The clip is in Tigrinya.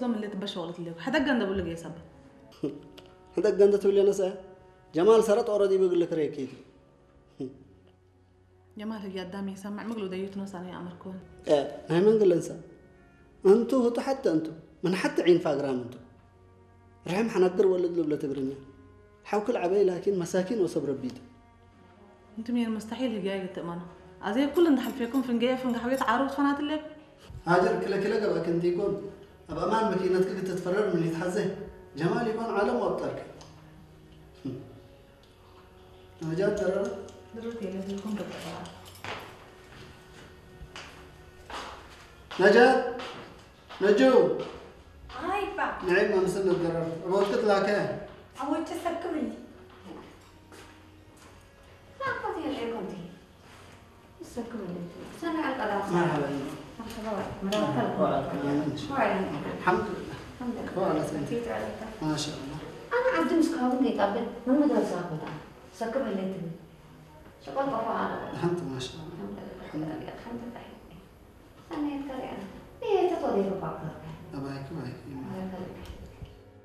ዞም اللي تبشغلت لك حتى قند بقول لك يا سبا. حتى قند تقول لي أنا سا. جمال سرت أوريدي بقول لك ريكيت. ጀማል ህያ ኣዳም ይሰምዕ ምግሉ ደዩት ኖሳን ይኣምርኩን። ናይ መንግለንሳ እንቱ ህጡ ሓተ እንቱ ምን ሓተ ዒን ፋግራም እንቱ ርሕም ሓናግር ወልድ ልብለ ትግርኛ ሓውክል ዓበይ ላኪን መሳኪን ወሰብ ረቢቱ። እንቱ ሜር ሙስተሒል ህያ ይግትእመኖ ኣዘይ ኩል እንዳሓልፌኩም ፍንገየ ፍንጋ ሓውየት ዓሩት ፈናትለብ። ሃጀር ክለ ክለ ገባ ክንቲኮን ኣብ ኣማን መኪነትክ ክትትፈረር ምን ይትሓዘ ጀማል ይኮን ዓለም ወብጠርክ። ነጃት ተረረ ድርት የለትልኩም ተጠራ። ነጃት ነጁ ኣይባ ንዒ ማምስል ንገረር እቦትክ ትላከ ኣወጭ ሰክምኒ። ላኮት የልዕኮንቲ ሰክምኒ ሰናዕ ቀዳም። መርሓባ እዩ። መርሓባ መርሓባ። ሓምድ ሓምድ ክባላ ሰንቲ ማሻ ኣላ። ኣነ ዓዲ ምስ ካሁን ከይጣበል መመዳብ ዝሃበና ሰክም ኣለትኒ። ሸቆል ቆፎ ኣለ። ሓንቲ ማሻ ኣላ። ሓንቲ ሓንቲ ሰናይ ተሪያ። እየ ተቶደ ባባ። ኣባይክ ባይክ።